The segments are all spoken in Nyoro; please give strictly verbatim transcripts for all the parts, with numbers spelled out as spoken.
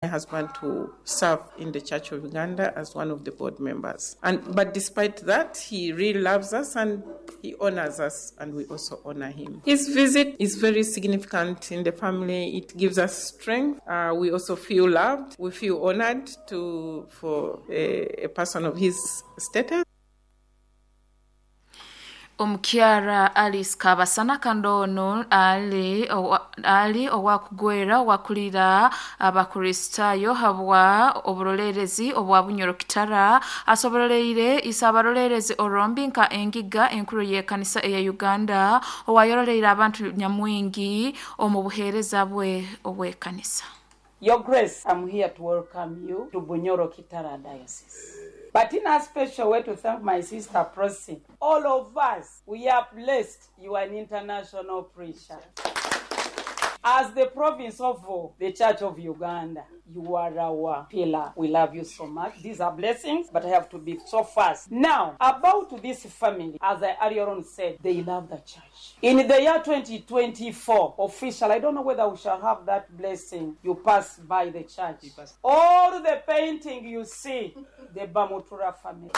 Husband to serve in the Church of Uganda as one of the board members. And but despite that, he really loves us and he honors us, and we also honor him. His visit is very significant in the family. It gives us strength. Uh, we also feel loved. We feel honored to for a, a person of his status. Omukyara Alice Kabasana Kandono ali owa, ali owakugwera owakulira Abakristaayo habwa oburolerezi obwa Bunyoro Kitara asobolereire isabarolerezi orombi nka engiga enkuru y'ekanisa eya Uganda owayoroleire abantu nyamwingi omu buheereza bwe obw'ekanisa. Your Grace, I'm here to welcome you to Bunyoro Kitara Diocese. But in a special way to thank my sister Prossy. All of us, we are blessed. You are an international preacher. As the province of the Church of Uganda, you are our pillar. We love you so much. These are blessings, but I have to be so fast. Now, about this family, as I earlier on said, they love the church. In the year twenty twenty-four, official, I don't know whether we shall have that blessing. You pass by the church. All the painting you see, the Bamutura family.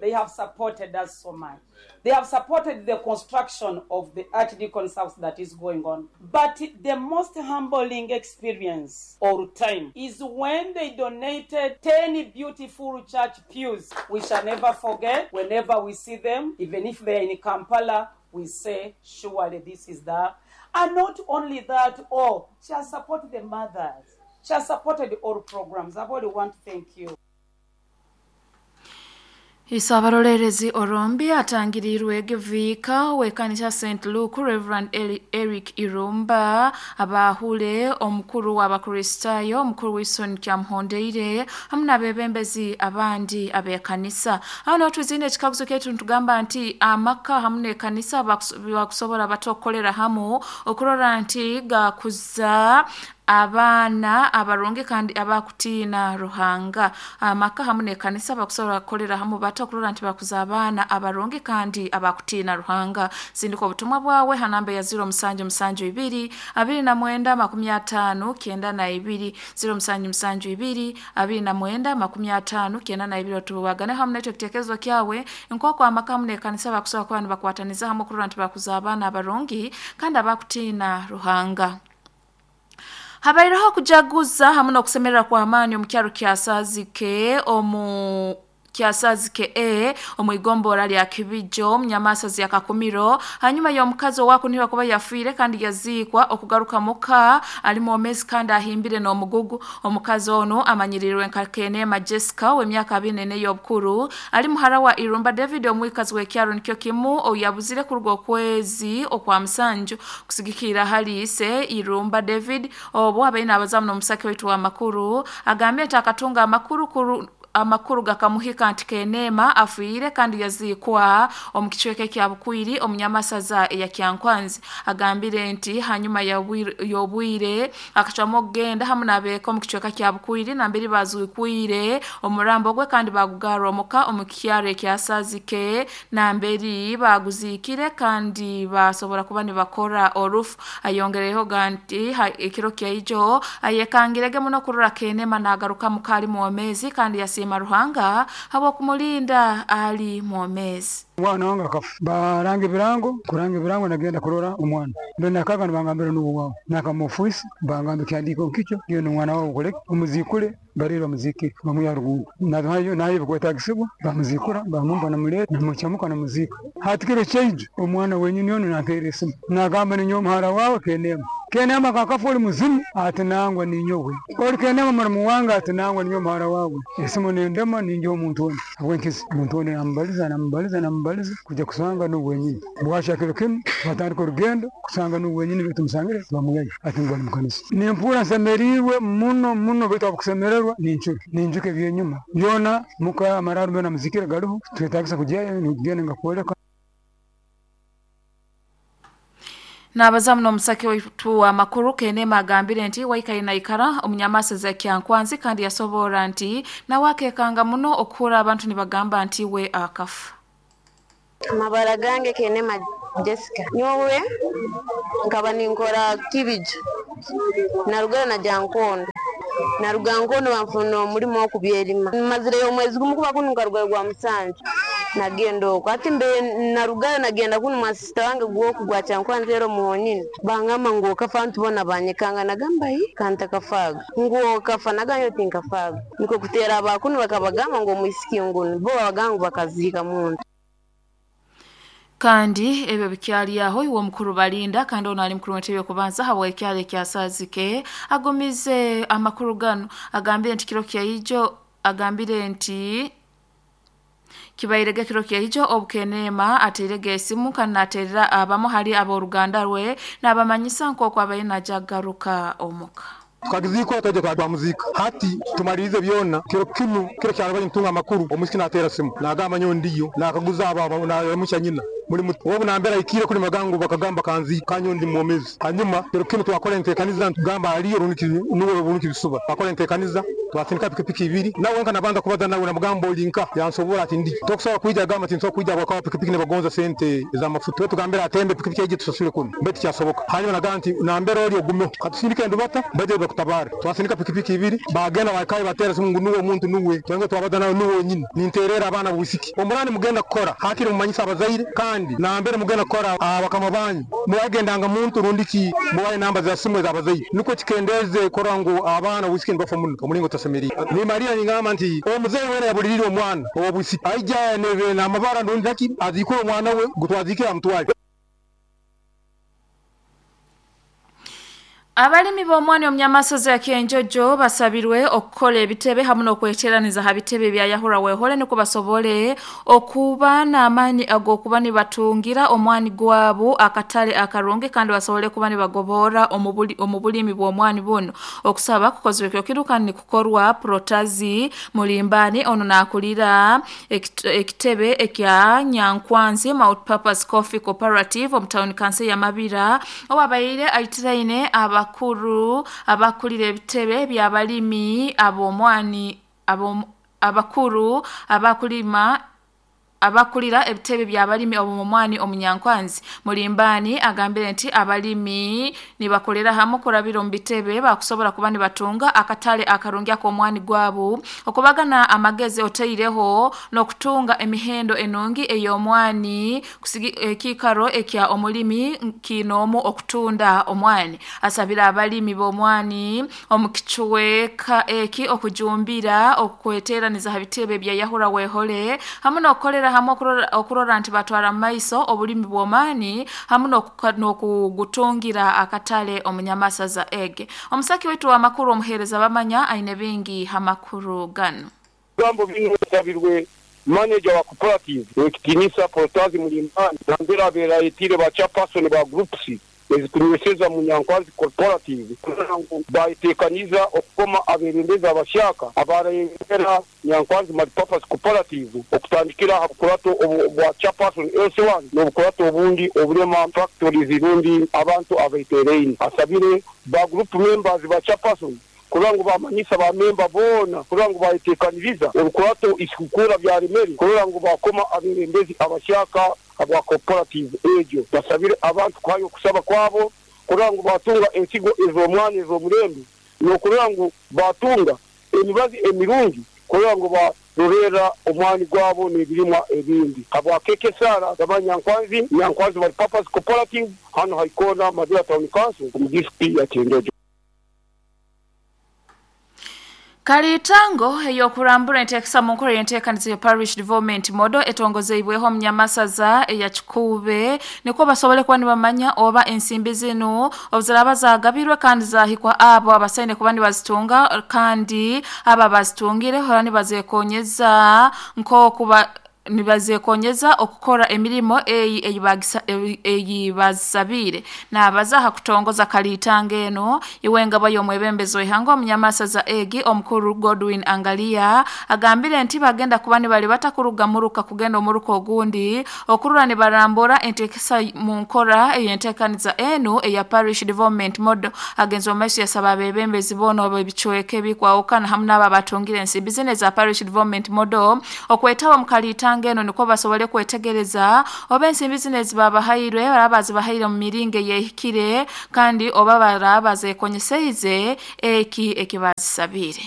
They have supported us so much. They have supported the construction of the Archdeacon's house that is going on. But the most humbling experience or time is when they donated ten beautiful church pews. We shall never forget. Whenever we see them, even if they are in Kampala, we say, surely this is the... And not only that, oh, she has supported the mothers. She has supported all programs. I really want to thank you. Isabarolerezi orombi atangirirwe geviika w'ekkanisa Saint Luke Reverend Eric Irumba abahule omukuru w'Abakristaayo omukuru Wilson Kyamuhondeire hamwe n'abebembezi abandi ab'ekanisa. Aho niho tuzine ekikaguzo kyaitu nitugamba nti amaka hamwe n'ekanisa bakusobora batokolera hamu okurora nti gakuza abaana abarungi kandi abakutiina Ruhanga. Amaka hamwe n'ekanisa bakusobora kukolera hamu bato okurora nti bakuza abaana abarungi kandi abakutiina Ruhanga. Sindika obutumwa bwawe ha namba ya ziro musanju musanju ibiri abiri na mwenda makumi ataano kyenda na ibiri ziro musanju musanju ibiri abiri na mwenda makumi ataano kyenda na ibiri. Otubagane hamwe n'ekyo kitekerezo kyawe nk'oku amaka hamwe n'ekanisa bakusobora kuba nibakwataniza hamwe okurora nti bakuza abaana abarungi kandi abakutiina Ruhanga. Habaireho kujaguza hamwe n'okusemerera kwa amaani omu kyaro kya Sazike omu Kyasazike E omu igombora lya Kibijo Munyamasazi ya Kakumiro hanyuma y'omukazi owakunihirwa kuba yafiire kandi yaziikwa okugaruka muka ali mwomezi kandi ahimbire n'omugugu. Omukazi ono amanyirirwe nka Kenema Jessica w'emyaka abiri n'ene y'obukuru ali muhara wa Irumba David omwikazi w'ekyaro nikyo kimu oyabuzire kuruga okwezi okwa musanju kusigikira hali ise Irumba David obwo abaine abazamu n'omusake waitu w'amakuru agambye nti akatunga amakuru kuru amakuru gakamuhika nti Kenema afiire kandi yaziikwa omu kicweka kya Bukwiri omunyamasaza eya Kyankwanzi. Agambire nti hanyuma y'obwire akacwamu okugenda hamwe n'abeeka omu kicweka kya Bukwiri nambere bazuikwire omurambo gwe kandi bagugarra omuka omu kyaro ekya Sazike nambere baguziikire kandi basobora kuba nibakora orufu. Ayongereho nti ekiro kyaijo ayekangirege muno kurora Kenema nagaruka muka ali mwomezi kandi yasi Ruhanga habwokumulinda ali mwomezi. Omwana wange akafa baranga ebirango kuranga ebirango nagenda kurora omwana ndo nakaga nibangambira n'uwo wawe nakamufuisi bangamba ekihandiiko nkikyo iyo n'omwana wawe okoleki omuzikule barire bamuzikire bamwiha rugundo nayo nayo bikwetagisibwa bamuzikura bamumba namuleta namuchamuka namuziika. Hati kiro kyaijo omwana wenyini ono nampeera esimu nagamba ninyowe omuhara wawe Kenema. Kenema kakafa oli muzimu ati nangwa ninyowe oli Kenema muramu wange ati nangwa ninyowe omuhara wawe. Esimu nendema ninja omuntu ono habwenkizi omuntu ono namubaliza namubaliza namubaliza kuja kusanga n'uwe wenyini bwakya kiro kinu batandika orugendo kusanga n'uwe wenyini baitu musangire bamuyayo ati ngu bali mukanisa. Nimpuura nsemeriirwe muno muno baitu abakusemererwa nincuka ninjuka ebyenyuma byona muka amararo byona muzikire gariho twetagisa kugyayo nigenda ngakwoleka. N'abazamu n'omusake waitu w'amakuru Kenema agambire nti waikaire naikara omunyamasaza Kyankwanzi kandi yasobora nti nawe akekanga muno okuhura abantu nibagamba nti we akafa. Amabara gange Kenema Jessica. Nyowe nkaba ninkora kibijo narugara najya Nkondo, naruga Nkondo banfuna omulimo okubyerima, mazireyo omwezi gumu kuba kunu nkarugayo gwa musanju nagenda okwo. Ati mbe narugayo nagenda kunu mwa sister wange gwoku gwa Kyankwanzi ero muhonyini, bangamba ngu okafa, ntubona banyekanga, nagamba hi kantakafaga, ngu okafa, nagamba tinkafaga, niko kutera abakunu bakabagamba ngu omwisiki ngunu bo babagamba ngu bakaziika muntu. Kandi ebyo bikyali aho iwe omukuru Balinda kandi ono ali mukuru w'entebe y'okubanza habwa ekyalo ekyasazike agumize amakuru gano, agambire nti kiro kyaijo, agambire nti kibairege kiro kyaijo obukeneema ateirege esimu kandi naterera abamu hali ab'oruganda rwe n'abamanyisa nk'oku abaire najagaruka omuka. Tukagizikora twaje kwa muzika hati tumalirize byona kiro kinu kiro kyarabanye ntunga amakuru omusiki natera simu nagamba nyo ndiyo nakaguza aba na nyina muri obu nambera ikire kuri magango bakagamba kanzi kanyo ndi mwomezi. Hanyuma kiro kinu twakora entekaniza ntugamba aliyo runiki nuwe runiki bisuba twakora entekaniza twatindika pikipiki ibiri nawe nka nabanza kubaza nawe namugambo olinka yansobora ati ndi tokusaba kuija gamba ati nsobola kuija bakawa pikipiki ne bagonza sente za mafuta tugambira atembe pikipiki eje tusasule kunu beti kyasoboka. Hanyuma nagamba nti nambera oli ogume katusindike ndubata baje bakutabara twasindika pikipiki ibiri bagenda bakaye batera simu nuwe omuntu nuwe twenge twabaza nawe nuwe nyine ninterera abana bwisiki omurani mugenda kukora hakiri mumanyisa abazaire kandi nambere mugenda kukora abakama banyu muwagendanga muntu rundiki muwaye namba za simu z'abazaire nuko kikendeze kora ngo abana bwisiki nbafa muno omulingo tasemeri ni Maria ningamba nti omuzeyi wena yabulirire omwana obwisiki aija nebe na mabara ndundaki azikura omwana we gutwazikira amutwale. Abalimi b'omwani omunyamasozi ya Kyenjojo basabirwe okukola ebitebe hamu n'okweteraniza ha bitebe bya Yahura Wehole niko basobole okuba n'amaani ag'okuba nibatungira omwani gwabo akatale akarungi kandi basobole kuba nibagobora omu bulimi bw'omwani buno. Okusaba kukozwe kiro kiru kandi nikukorwa Protazi Mulimbani ono naakulira ekitebe ekya Nyankwanzi Multipurpose Coffee Cooperative omu town council ya Mabira owabaire aitiraine aba abakuru abakulira ebitebe by'abalimi ab'omwani abakuru abakulima abakulira ebitebe by'abalimi ob'omwani omunyankwanzi. Mulimbani agambire nti abalimi nibakolera hamu kurabira omu bitebe bakusobola kuba nibatunga akatale akarungi ak'omwani gwabo okubagana amagezi oteireho n'okutunga emihendo enungi ey'omwani ekikaro ekya omulimi kinoomu okutunda omwani. Asabira abalimi b'omwani omu kichweka eki okujumbira okweteraniza ha bitebe bya Yahura Wehole hamu n'okukolera hamu okurora nti batwara maiso obulimi bw'omwani hamu n'okugutungira akatale omunyamasaza ege. Omusaki wetu wa makuru omuhereza bamanya aine bingi hamakuru gano. Gambo bino sabirwe manager wa cooperative ekitinisa Protazi Mulimbani nambera beraitire ba chairperson ba groups ezikunyweseza Munyankwanzi Corporative bayitekaniza okukoma aberembeza abashaka abarembera Nyankwanzi Multipurpose Cooperative okutandikira habukurato bwa chairperson L C one n'obukurato obundi obulema factories rundi abantu abaitereine. Asabire ba group members ba chairperson kurango bamanyisa ba member bona kurango bayitekaniriza olukurato isikukura bya remeri kurango bakoma aberembezi abashaka abwa cooperative ejo. Basabire abantu kwayo kusaba kwabo kurango batunga ensigo ez'omwani ez'omulembe n'okurango batunga emibazi emirungi kurango barorera omwani gwabo n'ebirimwa ebindi. Abwa keke sara Nyankwanzi Nyankwanzi Multipurpose Cooperative hano haikona Madira Town Council mu district ya Kyenjojo. Kalitango eyokurambura enteekesa mu nkola y'enteekaniza ya Parish Development Model etongozeibweho omunyamasaza eya Kikuube niko basobole kuba nibamanya oba ensimbi zinu obuziraba zagabirwe kandi zahikwa abo abasaine kuba nibazitunga kandi aba bazitungire hora nibazekonyeza nkokuba nibazekonyeza okukora emirimo eyi eyi bazabire nabaza hakutongoza kalitanga eno iwenga bayo mwebembezo ihango omunyamasaza egi omukuru Godwin Angalia agambire nti bagenda kuba nibali batakuruga muruka kugenda omuruka ogundi okurura nibarambura entekesa mu nkora eyentekaniza eno eya Parish Development Model. Agenzo omaiso yasaba abebembezi bono ebichweke bikwawukana hamu n'aba batungire ensimbi zino za Parish Development Model okwetaba mu kalitanga emisango eno niko basobole kwetegereza oba ensimbi zino ezibabahairwe baraba bazibahaire mu miringo eyehikire kandi oba baraba zekonyeseize eki ekibazisabire.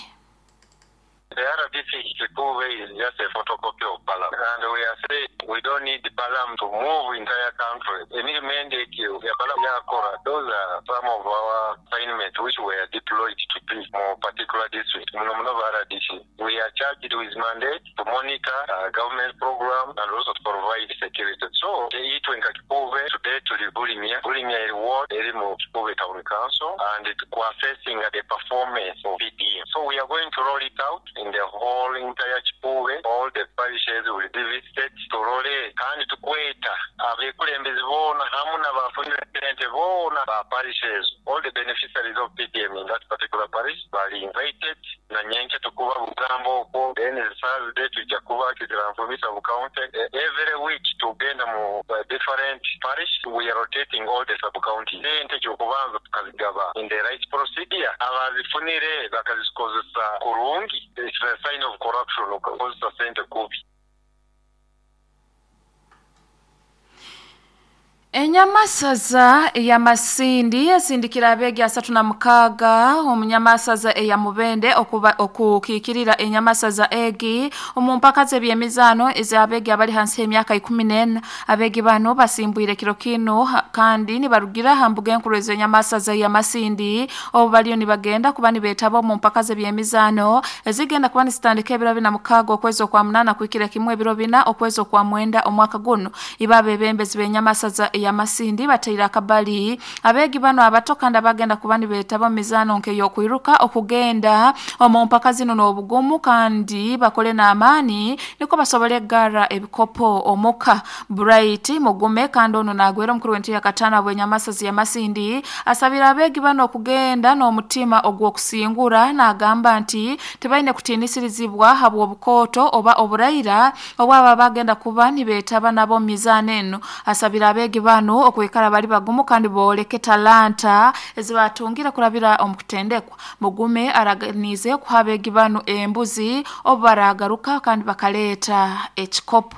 The R D C Kikuube is just a photocopy of Balaam. And we are saying we don't need Balaam to move entire country. Any mandate you, Balaam Yakora, those are some of our assignments which were deployed to be more particular district. R D C. We are charged with mandate to monitor uh, government program and also to provide security. So, the Itwenka Kikuube today to the Bulimia, Bulimia Ward, Erimo Kikuube Town Council, and to assessing the performance of P D M. So we are going to roll it out in the whole entire Kikuube. All the parishes will be visited. Turole kandi tukweta abekulembeze boona hamu n'abafunire boona ba parishes, all the beneficiaries of P D M in that particular parish bali invited na nyenke tukuba bugambo okwo. Then Thursday tujja kuba kiziranfumisa bu county every week tugenda mu different parish. We are rotating all the sub county. Sente ky'okubanza tukazigaba in the right procedure, abazifunire bakazikozesa kurungi. It's a sign of corruption okukozesa sente kubi. Enyamasaza eya Masindi esindikira abegi asatu na mukaga omunyamasaza eya Mubende okukiikirira enyamasaza egi omu mpaka z'ebyemizaano ez'abegi abali hansi y'emyaka ikumi n'ena. Abegi bano basimbwire kiro kino kandi nibarugira ha mbuga enkuru ez'enyamasaza eya Masindi obu baliyo nibagenda kuba nibeetaba omu mpaka z'ebyemizaano ezigenda kuba nizitandika ebiro bina mukaaga okwezi okwa munaana kuhikira kimwe ebiro bina okwezi okwa mwenda omwaka guno. Iba abebembezi b'enyamasaza eya Masindi bateire akabali abegi bano abato kandi abagenda kuba nibeetaba mizaano nk'ey'okwiruka okugenda omu mpaka zino n'obugumu kandi bakole n'amaani niko basobole gara ebikopo omuka. Bright Mugume kandi ono nagwera omukuru w'entebe ya kataano bw'enyamasazi ya Masindi asabira abegi bano okugenda n'omutima ogw'okusingura n'agamba nti tebalina kutiinisirizibwa habw'obukooto oba oburaira obwaba bagenda kuba nibeetaba nabo mu mizaano eno. Asabira abegi bano okwikara bali bagumu kandi booleke talanta ezibatungira kurabira omukutendekwa. Mugume araganize kuha abegi bano embuzi obu baragaruka kandi bakaleeta ekikopo.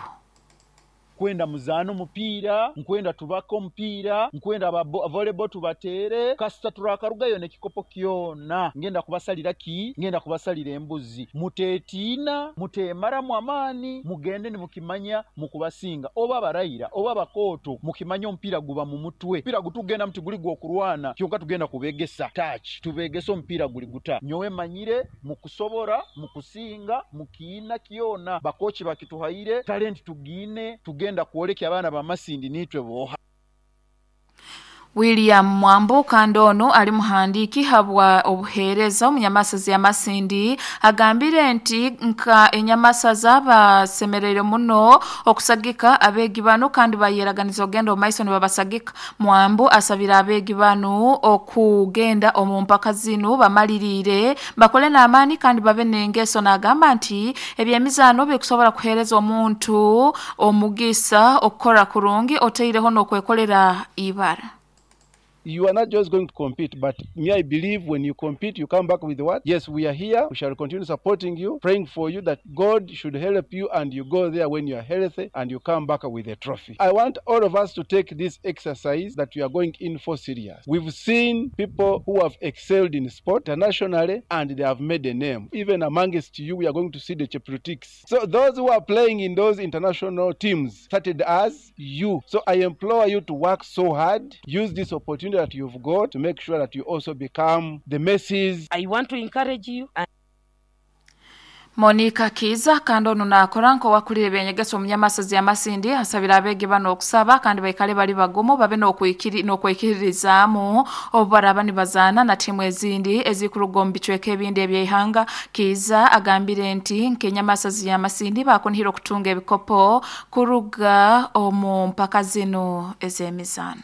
Nkwenda muzaano mupiira, nkwenda tubaka omupiira, nkwenda aba volleyball tubateere, kasita turakarugayo n'ekikopo kyona. Ngenda kubasalira ki? Ngenda kubasalira embuzi. Muteetiina, muteemaramu amaani, mugende nimukimanya mukubasinga. Oba barayira, oba bakooto, mukimanya omupiira guba mu mutwe. Omupiira gutugenda muti guli gw'okurwana, kyonka tugenda kubegesa touch, tubegesa omupiira guli guta. Nyowe manyire mukusobora, mukusinga, mukiina kyona. Bakochi bakituhaire, talent tugiine, tugenda kuoleka abaana ba Masindi nitwe boha. William Mwambu kandi ono ali muhandiiki habwa obuheereza omunyamasaza ya Masindi agambire nti nka enyamasaza basemereire muno okusagika abeegi bano kandi bayeraganiza ogenda omu maiso nibabasagika. Mwambu asabira abeegi bano okugenda omu mpaka zino bamaliriire bakole n'amaani kandi babe n'engeso n'agamba nti ebyemizaano bikusobola kuheereza omuntu omugisa okukora kurungi oteireho n'okwekolera ibara. You are not just going to compete, but me, I believe when you compete, you come back with what? Yes, we are here. We shall continue supporting you, praying for you that God should help you and you go there when you are healthy and you come back with a trophy. I want all of us to take this exercise that we are going in for serious. We've seen people who have excelled in sport internationally and they have made a name. Even amongst you, we are going to see the Cheprutiks. So those who are playing in those international teams started as you. So I implore you to work so hard, use this opportunity that you've got to make sure that you also become the Messis. I want to encourage you. And Monica Kiza kandi ono nakora nko wakulire ebyenyegeso omunyamasazi ya Masindi asabira abegi bano okusaba kandi baikale bali bagumu babe n'okwikiri n'okwikiririzaamu obu baraba nibazaana na tiimu ezindi ezikuruga omu bicweka ebindi eby'eihanga. Kiza agambire nti nk'enyamasazi ya Masindi bakunihira okutunga ebikopo kuruga omu mpaka zino ez'emizaano.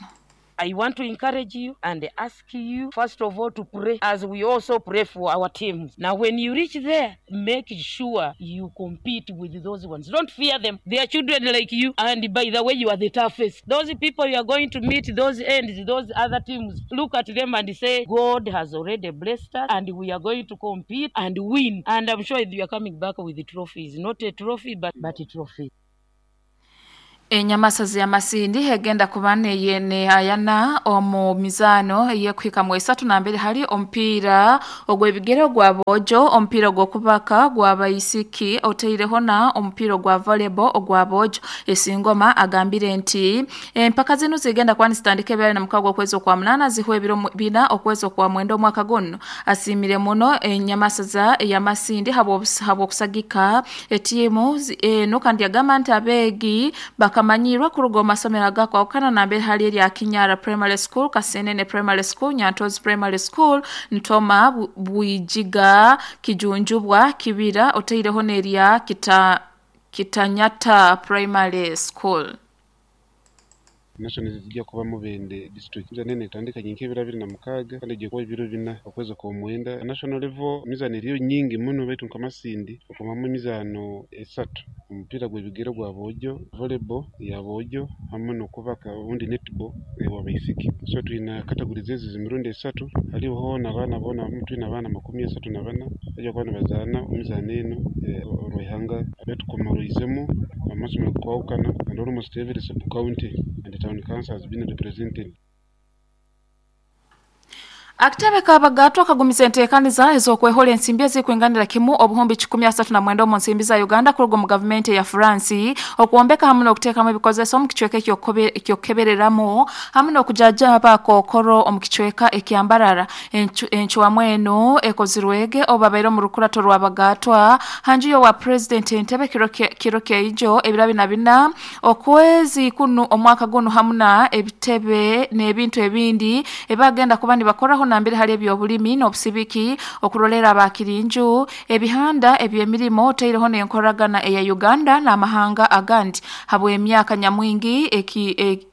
I want to encourage you and ask you, first of all, to pray as we also pray for our teams. Now, when you reach there, make sure you compete with those ones. Don't fear them. They are children like you. And by the way, you are the toughest. Those people you are going to meet, those ends, those other teams, look at them and say, God has already blessed us and we are going to compete and win. And I'm sure you are coming back with the trophies. Not a trophy, but, but a trophy. Enyamasazi ya Masindi egenda kuba neyene ayana omu mizano eyekuhika mu esatu na mbere hali omupiira ogw'ebigere ogwa bojo, omupiira ogw'okubaka gwa bayisiki oteireho na omupiira ogwa volleyball ogwa bojo. Esingoma agambire nti empaka zino zigenda kuba nizitandika ebirala na mukago okwezi okwa munana zihwa ebiro bina okwezi okwa mwenda omwaka guno. Asimire muno enyamasaza ya Masindi habw'okusagika etiimu eno kandi yagamba nti abeegi bakamanyirwa kuruga omu masomero agakwawukana nambere hali erya Kinyara Primary School, Kasenene Primary School, Nyantozi Primary School, Ntoma, Bwijiga, Kijunjubwa, Kibira, oteireho n'erya Kita, Kitanyata Primary School. National zijja kuba Mubende district nene etandikanye nk'ebiro bibiri na mukaaga kandi egiye kuba ebiro bina okwezi kwa mwenda. National level emizano eriyo nyingi muno baitu nka Masindi okumamu emizano esatu, omupiira gw'ebigere gwa bojo, volleyball ya bojo hamwe n'okubaka obundi netball ewa baisiki. So twina categories ezi z'emirundi esatu, hariho hoona abaana boona twina abaana makumi asatu na bana bajja kuba nibazaana emizaano eno orw'ihanga betukomoroizemu amasomero kwawukana and almost every sub county and town council has been represented. Akitebe k'abagatwa kagumiza enteekaniza ez'okwehola ensimbi ezikwenganira kimu obuhumbi kikumi asatu na mwenda omu nsimbi za Uganda kuruga mu gavumenti ya France okwombeka hamwe n'okuteekamu ebikozeso omu kicweka ekyokukebereramu hamwe n'okujajaba kookoro omu kicweka ekyambarara. Encwamu eno ekozirwege obabaire omu rukurato rw'abagatwa hanju y'owa President Entebbe kiro kyaijo ebiro bina bina okwezi kunu omwaka guno hamwe na ebitebe n'ebintu ebindi ebagenda kuba nibakoraho nambere hali ebyobulimi n'obusibiki okurolera abakirinju ebihanda eby'emirimo oteireho n'enkoragana eya Uganda n'amahanga agandi. Habw'emyaka nyamwingi eki e,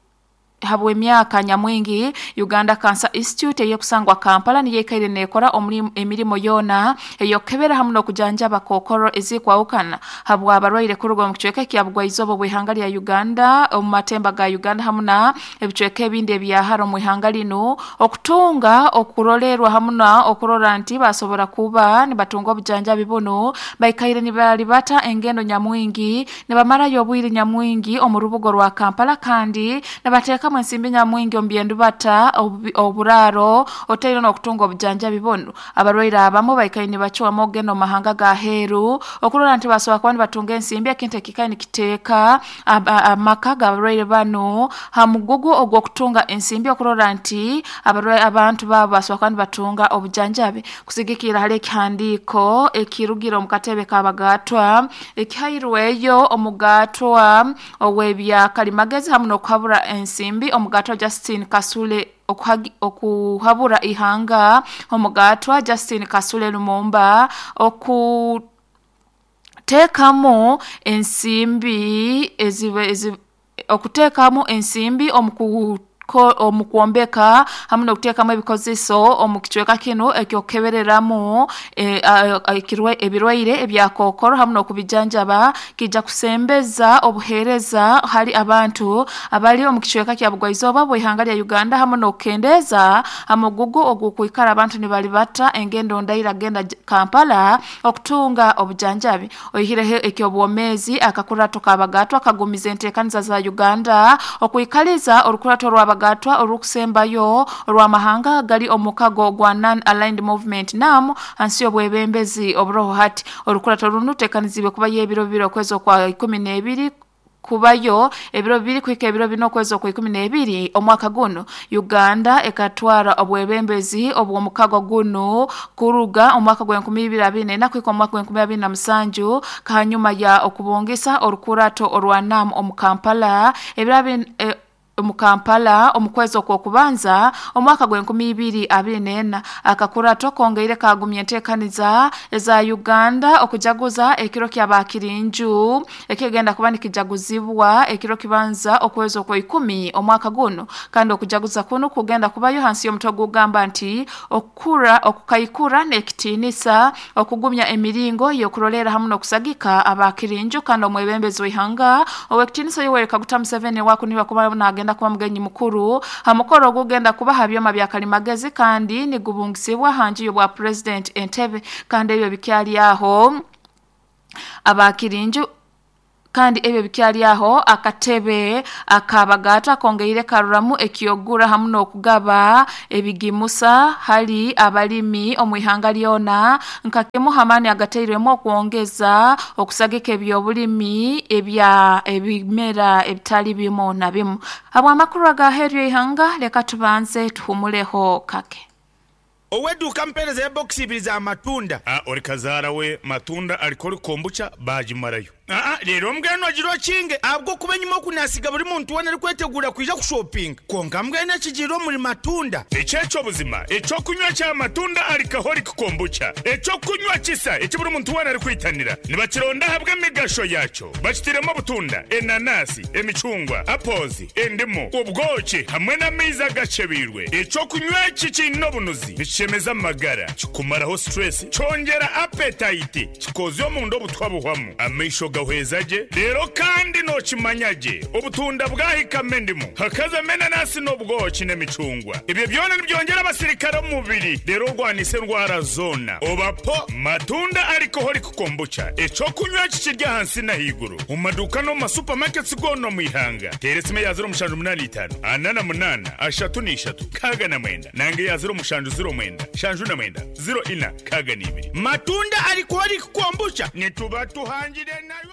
habw'emyaka nyamwingi Uganda Cancer Institute eyekusangwa Kampala niyo ekaire nekora emirimo yona eyokebera hamwe n'okujanjaba kookoro ezikwawukana habwa abarwaire kuruga omu kicweka ekya Bugwaizoba bw'ihanga lya Uganda omu matemba ga Uganda hamwe na ebicweka ebindi ebyahara omu ihanga lino okutunga okurolerwa hamwe na okurora nti basobora kuba nibatunga obujanjabi buno baikaire nibalibata engendo nyamwingi nibamarayo obwire nyamwingi omu rubugo rwa Kampala kandi nibateeka ensimbi nyamwingi omu byendubata oburaro oteire n'okutunga obujanjabi buno. Abarwaire abamu baikaire nibacwamu okugenda omu mahanga ga heeru okurora nti basobola kuba nibatunga ensimbi ekintu ekikaire nikiteeka amaka g'abarwaire bano ha mugugu ogw'okutunga ensimbi okurora nti abantu baabo basobola kuba nibatunga obujanjabi. Kusigikira hali ekihandiiko ekirugire omu katebe k'abagatwa ekihairweyo omugatwa ow'ebya kalimagezi hamwe n'okuhabura ensimbi omugatwa Justin Kasule okuhabura ihanga omugatwa Justin Kasule Lumumba okuteekamu ensimbi ezibe ezi, okuteekamu ensimbi omu omu kwombeka hamwe n'okuteekamu ebikozeso omu kicweka kino ekyokukebereramu ebirwaire ebya kookoro hamwe n'okubijanjaba kijja kusembeza obuheereza hali abantu abali omu kicweka kya Bugwaizoba bw'ihanga lya Uganda hamwe n'okukendeza amugugu ogw'okwikara abantu nibalibata engendo ndaira genda Kampala okutunga obujanjabi. Oihireho eky'obwomeezi akakurato k'abagatwa kagumiza enteekaniza za Uganda okwikaliza orukurato rw'abagatwa orukusembayo orw'amahanga gali omukago gwa Non-Aligned Movement NAM hansi y'obwebembezi oburoho hati. Orukurato runo ruteekanizibwe kubayo ebiro bibiri okwezi okwa ikumi n'ebiri kubayo ebiro bibiri kuhika ebiro bina okwezi okwa ikumi n'ebiri omwaka guno. Uganda ekatwara obwebembezi obw'omukago guno kuruga omwaka gw'enkumi ibiri abiri n'ena kuhika omwaka gw'enkumi abiri na musanju kahanyuma ya okubungisa orukurato orwa NAM omu Kampala ebiro abiri e, omu Kampala omu kwezi okw'okubanza omwaka gw'enkumi ibiri abiri n'ena. Akakurato kongeire kagumya enteekaniza eza Uganda okujaguza ekiro ky'abakirinju ekigenda kuba nikijaguzibwa ekiro kibanza okwezi okwa ikumi omwaka guno kandi okujaguza kuno kugenda kubayo hansi y'omutwe gugamba nti okukura okukaikura n'ekitiinisa okugumya emiringo y'okurolera hamwe n'okusagika abakirinju kandi omwebembezi w'ihanga ow'ekitiinisa Yoweri Kaguta Museveni wakuniba kuba nagenda kuba mugenyi mukuru hamukoro ogugenda kuba ha byoma bya kalimagezi kandi nigubungisibwa hanji y'obwa President Entebbe kandi ebyo bikyali aho abakirinju Kandi ebyo bikyali aho akatebe akabagata kongeire karuramu ekiyogura hamu n'okugaba ebigimusa hali abalimi omu ihanga lyona nka kimu hamani agateirwemu okwongeza okusagika ebyobulimi ebya ebimera ebitali bimu na bimu. Habw'amakuru agaheryo ihanga leka tubanze tuhumuleho kake. Oweduka mpereza ya box ibiri za matunda. Ah, ori kazaara we matunda alikoli kombucha bagimarayo. Ah, rero mbwenu agira kinge abwo kuba nyuma kunasiga buri muntu wena ari kwetegura kuja kushopping. Konka mbwenu ekigiro muri matunda. Ekyekyo buzima ekyokunywa kya matunda alcoholic kombucha, ekyokunywa kisa eki buri muntu wena ari kwitanira nibakironda habwe emigasho yakyo bakitiremo obutunda, enanasi, emicungwa, apples, endimu, ubwoki hamwe n'amaizi agacebirwe. Ekyokunywa eki kiine obunuzi nikishemeza amagara, kikumaraho stress, kyongera appetite, kikozya omunda obutwa buhwamu, amaisho gahweza gye. Rero kandi nokimanya gye obutunda bwahikamo endimu hakazamo enanasi n'obwoki n'emicungwa, ebyo byona nibyongera abasirikare omu mubiri rero orwanisa endwara zona. Obapo matunda alcoholic kombucha, ekyokunywa kikirya ahansi n'ahaiguru mu maduka no mu masupamaketi gona omu ihanga. Teera esimu ya ziro mushanju munani itaano ana na munaana ashatu n'ishatu kaaga na mwenda nange ya ziro mushanju ziro mwenda shanju na mwenda ziro ina kaaga n'ibiri. Matunda alcoholic kombucha nituba tuhangire nayo.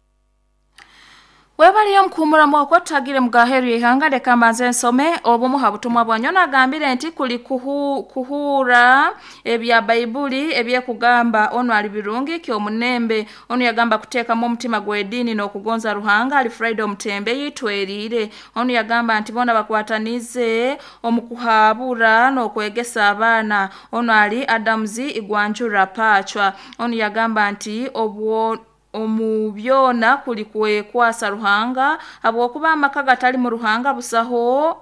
Webaliyo mkuhumura mwako tagire mugaheru ihanga leka mbanze nsome obumu habutumwa bwanyona agambire nti kuli kuhu, kuhura ebya Baibuli ebyekugamba ono ali birungi kyo munembe. Ono yagamba kuteekamu omutima gw'eddiini n'okugonza Ruhanga ali Friday omutembe yitwerire. Ono yagamba nti bona bakwatanize omukuhabura n'okwegesa abaana. Ono ali Adams Igwanjura Pachwa. Ono yagamba nti obwo omu byona kuli kwekwasa Ruhanga habwokuba amaka gatali mu Ruhanga busaho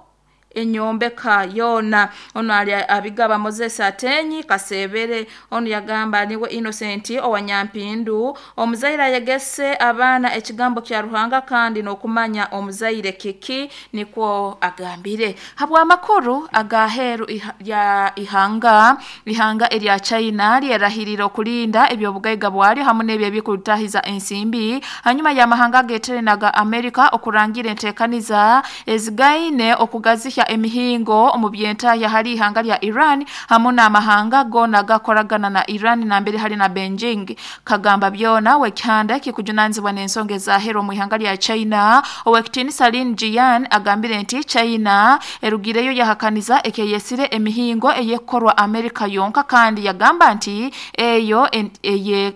enyombeka yona. Ono ali abigaba Moses Atenyi Kasebere. Ono yagamba niwe Innocent owanyampindu omuzaire ayegese abaana ekigambo kya Ruhanga kandi n'okumanya omuzaire kiki nikwo agambire. Habw'amakuru agaheru iha, ya ihanga ihanga erya China lyerahirira okulinda ebyobugaiga bwalyo hamwe n'ebyo ebikulitahiza ensimbi hanyuma y'amahanga ageterenaga Amerika okurangira enteekaniza ezigaine okugazihya emihingo omu byentaya hali ihanga lya Iran hamwe n'amahanga gona gakoragana na Iran na mbere hali na Beijing. Kagamba byona wekihanda kikujunanizibwa n'ensonga ezahero mu ihanga lya China owekitiinisa Lin Jian agambire nti China erugireyo yahakaniza ekeyesire emihingo eyekorwa Amerika yonka kandi yagamba nti eyo eye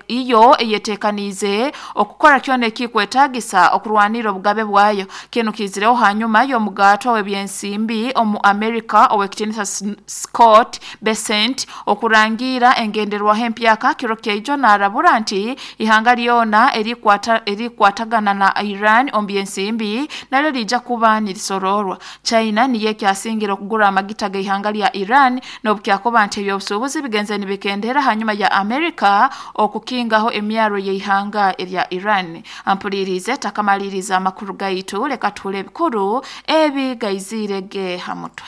iyo eyetekanize okukora kyona ekikwetagisa okurwanira obugabe bwayo. Kino kizireho hanyuma y'omugato w'ebyensimbi omu Amerika owekitiinisa Scott Bessent okurangira engenderwaho empyaka kiro kyaijo n'arabura nti ihanga lyona erikwata erikwatagana na Iran omu byensimbi nalyo lijja kuba nirisororwa. China niyo ekyasingira okugura amagita g'ihanga lya Iran n'obukyakuba nti ebyobusuubuzi bigenze nibikendera hanyuma ya Amerika okukingaho emyaro y'ihanga erya Iran. Ampulirize takamaliriza amakuru gaitu leka tule bikuru ebi gaizire ge hamutwe.